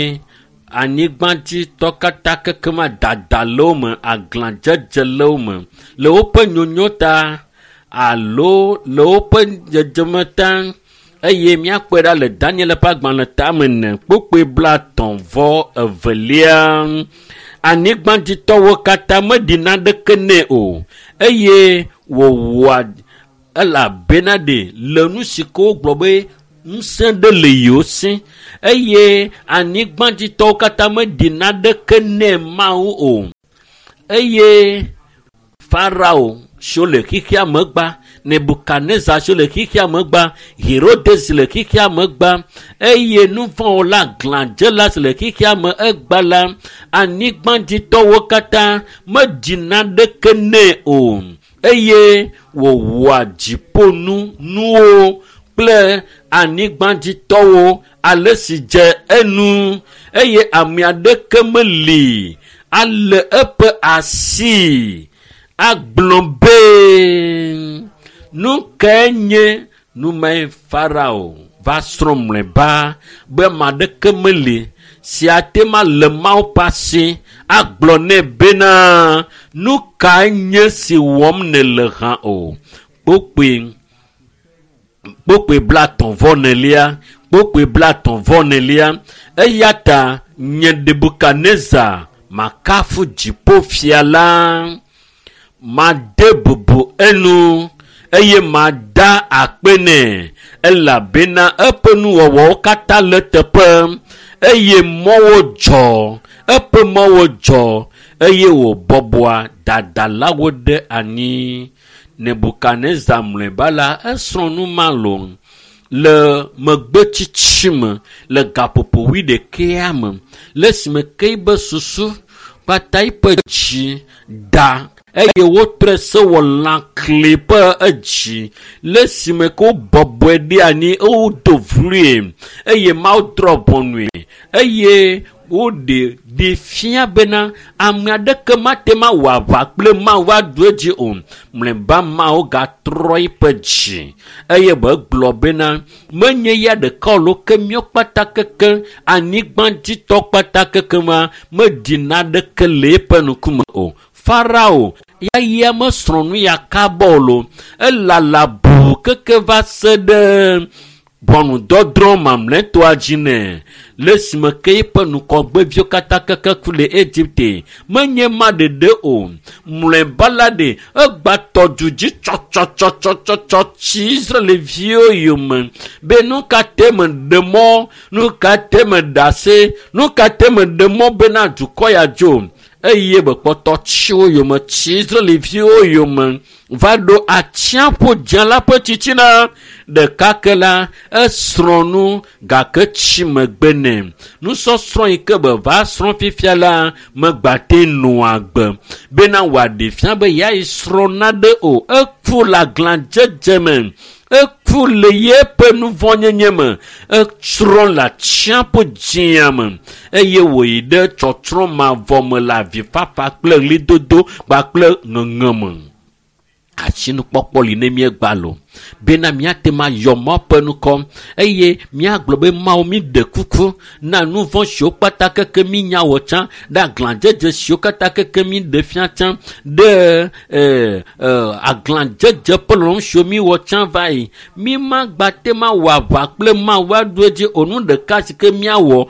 anyigbadzitɔ katã kekema dada le wo me, aglãdzedze le wo me le woƒe nyonyo ta alo le woƒe dzedzeme ta eye míakpɔe ɖa le Daniel ƒe agbalẽ tame ne kpokpoe 32. Anyigbadzitɔwo katã meɖi naneke nɛ o eye wòwɔa elabena ɖe le nu si ke wogblɔ be ŋusẽ ɖe le yewo si eye anyigbadzitɔwo katã meɖi naneke nɛ Mawu o eye Farao siwo le xexea me gba, Nebukadnezar siwo le xexea me gba, Herodes le xexea me gba eye nuvɔ̃wɔla glãdzela si le xexea me egba la, anyigbadzitɔwo katã meɖi naneke nɛ o eye wòwɔa dziƒonu nuwo kple anyigbadzitɔwo ale si dze enu eye ame aɖeke meli ale eƒe asi agblɔ be nu kae nye nu mae Farao va srɔ̃ mlɔeba be ame aɖeke meli si ate ma le Mawu ƒe asi agblɔ nɛ bena nu kae nye si wɔm nèle hã o. Kpokpoe 34 kpokpoe 34 eya ta nye Nebukadnezar makafu dziƒofia la, made bubu enu eye mada akpe nɛ elabena eƒe nuwɔwɔwo katã le teƒe eye mɔwo dzɔ eƒe mɔwo dzɔ eye wòbɔbɔa dadalawo ɖe anyi. Nebukadnezar mlɔeba la esrɔ̃ nu ma lo le megbetsitsi me le gaƒoƒo wuiɖekea me le esime ke yibe susu kpata yiƒe dzi da eye wotrɔe sewɔlã kli ƒe edzi le esime ke wobɔbɔe ɖe anyi wodo vloe eye Mawu drɔ̃ ʋɔnue eye woɖe ɖi fia bena ame aɖeke mate ma wɔ aʋa kple Mawu aɖu edzi o. Mlɔeba Mawu gatrɔ eƒe dzi eye begblɔ bena menye ya ɖeka o lo ke míawo kpata keke anyigbadzitɔ kpata keke ma meɖi naneke le eƒe ŋkume o. Farao ya mesrɔ̃ nu ya kaba o lo elala bu keke va se ɖe ʋɔnudɔdrɔ̃ mamlɛtɔa dzi nɛ le esime ke eƒe ŋgɔgbeviwo katã keke ku le Egipte menye ma ɖeɖe o. Mlɔeba la ɖe egba tɔ du dzi tsɔtsɔtsɔtsɔtsɔ tsi Israelviwo yome be nu ka te meɖe mɔ, nu ka te meɖe asi, nu ka te meɖe mɔ bena dukɔ ya dzo eye bekpɔtɔ tsi wo yome tsi Israelviwo yome va ɖo atsiaƒu dzẽ la ƒe titina ɖeka ke la esrɔ̃ nu gake tsi megbe nɛ. Nusɔsrɔ̃ yi ke be va srɔ̃ fifia la megbate nɔa agbe bena wòaɖe fia be yeayi srɔ̃ naɖe o. Eku le aglãdzedze me, eku le yeƒe nuvɔ̃nyenye me, etsrɔ̃ le atsiaƒu dzĩa me eye wòyi ɖe tsɔtsrɔ̃ mavɔ me le avifafa kple ɣlidodo kpakple ŋeŋe me. Asinukpɔkpɔ li ne míegba lo bena míate ma yɔ Mawu ƒe ŋkɔ eye míagblɔ be Mawu mi ɖe kuku na nu vɔ̃ siwo kpata keke mínya wɔ tsã ɖe aglãdzedze siwo katã keke mi ɖe fia tsã ɖe aglãdzedze ƒe lɔlɔ̃nu siwo mi wɔ tsã va yi. Mi magba te ma wɔ aʋa kple Mawu aɖu edzi o. Nu ɖeka si ke míawɔ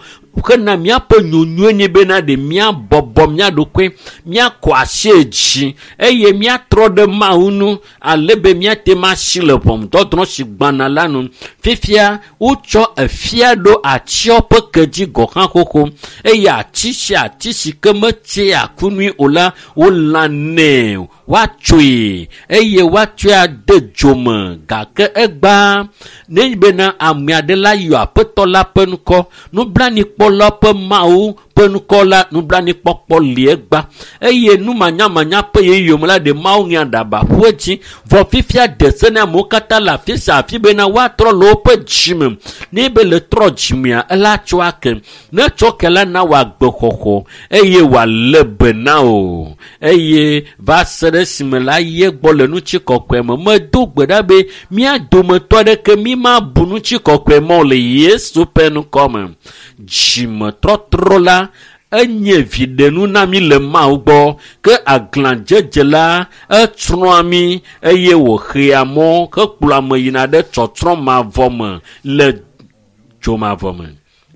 hena míaƒe nyonyoe nye bena ɖe míabɔbɔ mía ɖokui, míakɔ asi dzi eye míatrɔ ɖe Mawu ŋu ale be míate ma si le ʋɔnudɔdrɔ̃ si gbana la nu. Fifia wotsɔ efia ɖo atsiɔ ƒe ke dzi gɔ̃ hã xoxo eye ati sia ati si ke metsea ku nui o la wolãnɛ woatsoe eye woatsɔe ade dzo me gake egba nenye bena ame aɖe la yɔ aƒetɔ la ƒe ŋkɔ nublanuikpɔla ƒe Mawu ƒe ŋkɔ la nublanuikpɔkpɔ li egba eye numanyamanya ƒe ɣeyiɣi me la ɖe Mawu ŋea aɖaba ƒu edzi. Vɔ fifia de se na amewo katã le afi sia afi bena woatrɔ le woƒe dzime. Ne be le trɔ dzimea, ela tsɔ ake. Ne tsɔ ke la na wò agbexɔxɔ eye wòalé be na wò eye va se ɖe esime la yi egbɔ le ŋutikɔkɔe me. Medo gbe ɖa be mía dometɔ aɖeke mi mabu ŋutikɔkɔe mɔ le Yesu ƒe ŋkɔ me. Dzimetɔtrɔ la enye viɖenu na mí le Mawu gbɔ ke aglãdzedze la etsrɔ̃a mí eye wòxea mɔ hekplɔa ame yina ɖe tsɔtsrɔ̃ mavɔ me le dzomavɔ me.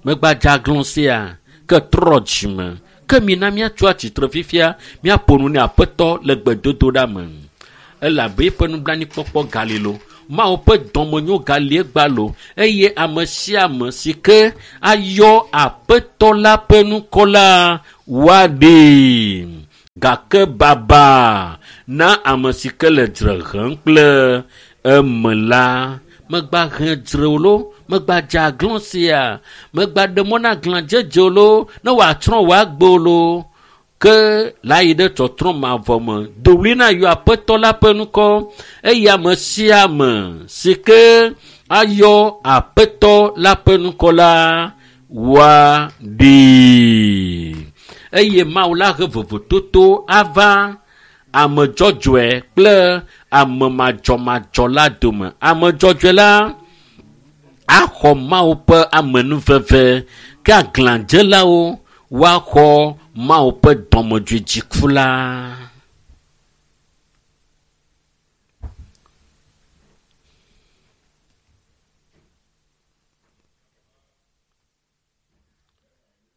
Megbadze aglã sia ke trɔ dzime ke mina míatso atsitre fifia míaƒo nu ne Aƒetɔ le gbedodoɖa me. Elabe eƒe nublanuikpɔkpɔ gali lo. Mawu ƒe dɔmenyo gali egba lo eye ame sia ame si ke ayɔ Aƒetɔ la ƒe ŋkɔ la woaɖee. Gake baba na ame si ke le dzre hem kple eme la. Megba he dzre o lo, megba dze aglã sia, megba ɖe mɔ na aglãdzedze o lo, ne wòatsrɔ̃ wò agbe o lo. Ke la yi ɖe tsɔtsrɔ̃ mavɔ me. Do ɣli na yɔ Aƒetɔ la ƒe ŋkɔ eye ame sia ame si ke ayɔ Aƒetɔ la ƒe ŋkɔ la woaɖee. Eye Mawu la he vovototo ava ame dzɔdzɔe kple ame madzɔmadzɔ la dome. Ame dzɔdzɔe la axɔ Mawu ƒe amenuveve ke aglãdzelawo woaxɔ Mawu ƒe dɔmedzoe dziku la.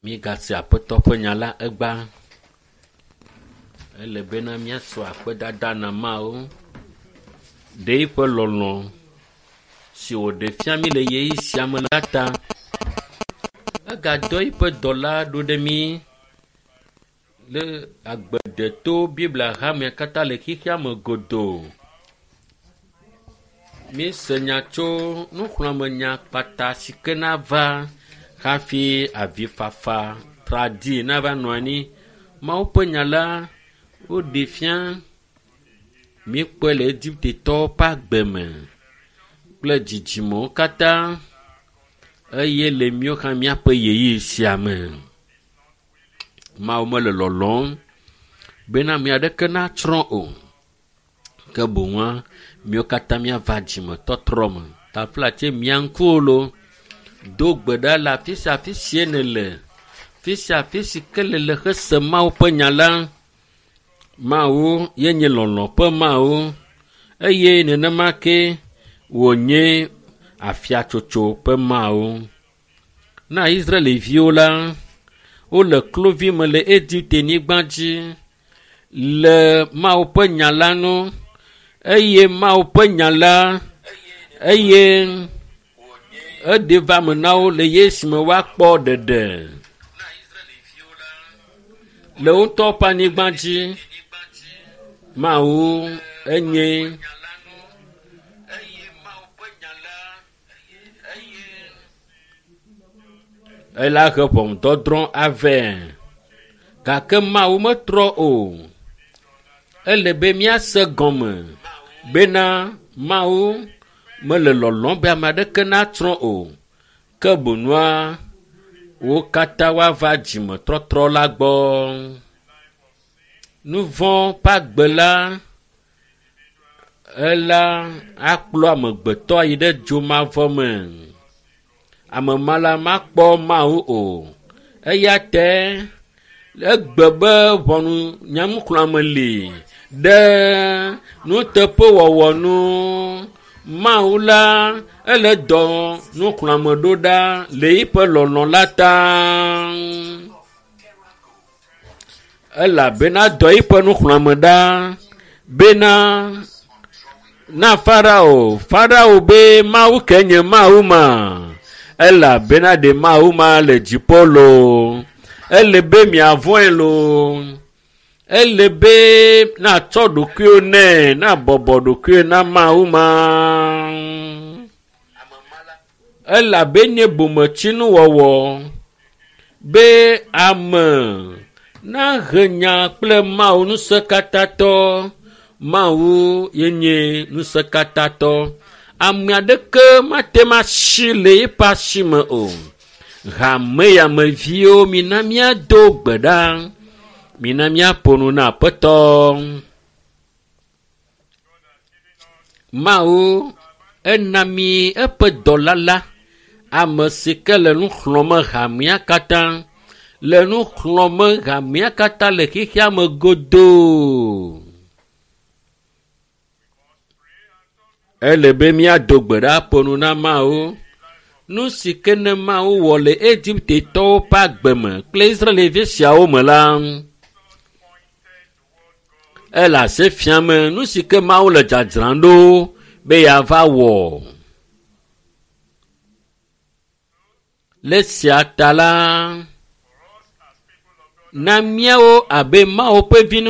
Míegase Aƒetɔ ƒe nya la egba. Ele bena míasɔ akpedada na Mawu ɖe eƒe lɔlɔ̃ si wòɖe fia mí le ɣeyiɣi sia me la ta. Egadɔ eƒe dɔla ɖo ɖe mí le agbedeto Biblia hamea katã le xexea me godoo. Míese nya tso nuxlɔ̃amenya kpata si ke nava hafi avifafa tradi nava nɔ anyi. Mawu ƒe nya la woɖe fia míekpɔe le Egiptetɔwo ƒe agbe me kple dzidzimewo katã eye le míawo hã míaƒe ɣeyiɣi sia me. Mawu mele lɔlɔ̃m bena ame aɖeke natsrɔ̃ o. Ke boŋua míawo katã míava dzimetɔtrɔ me. Taflatse mia ŋkuwo lo. Do gbe ɖa le afi sia afi si nèle. Afi sia afi si ke nèle hese Mawu ƒe nya la. Mawu ye nye lɔlɔ̃ ƒe Mawu eye nenema ke wònye afiatsotso ƒe Mawu. Na Israelviwo la, wole kluvi me le Egipte-nyigba dzi le Mawu ƒe nya la nu eye Mawu ƒe nya la eye eɖe va me na wo le esime woakpɔ ɖeɖe le wo ŋutɔ ƒe anyigba dzi. Mawu enye ela he ʋɔnudɔdrɔ̃ avɛ gake Mawu metrɔ o. Ele be míase gɔme bena Mawu mele lɔlɔ̃m be ame aɖeke natsrɔ̃ o. Ke boŋua wo katã woava dzimetɔtrɔ la gbɔ. Nu vɔ̃ ƒe agbe la ela akplɔ amegbetɔ yi ɖe dzomavɔ me. Ame ma la makpɔ Mawu o. Eya ta egbe be ʋɔnu nyanuxlɔ̃ame li ɖe nuteƒewɔwɔ nu. Mawu la ele dɔ nuxlɔ̃ame ɖo ɖa le eƒe lɔlɔ̃ la ta. Elabena dɔ eƒe nuxlɔ̃ame ɖa bena na Farao. Farao be Mawu ke nye Mawu ma. Elabena ɖe Mawu ma le dziƒo loo. Ele be miavɔ̃e loo. Ele be natsɔ ɖokuiwò nɛ, nabɔbɔ ɖokuiwò na Mawu ma. Elabe nye bometsinuwɔwɔ. Be ame nahe nya kple Mawu ŋusẽkatãtɔ. Mawu ye nye ŋusẽkatãtɔ. Ame aɖeke mate ŋu asi le eƒe asi me o. Hameyameviwo mina míado gbe ɖa. Mina míaƒo nu na Aƒetɔ. Mawu ena mi eƒe dɔla la, ame si ke le nu xlɔ̃m hamea katã, le nu xlɔ̃m hamea katã le xexea me godoo. Ele be míado gbe ɖa ƒo nu na Mawu. Nu si ke ne Mawu wɔ le Egiptetɔwo ƒe agbe me kple Israelvi siawo me la, ele ase fiam nu si ke Mawu le dzadzram ɖo be yeava wɔ. Le esia ta la, na míawo abe Mawu ƒe vi.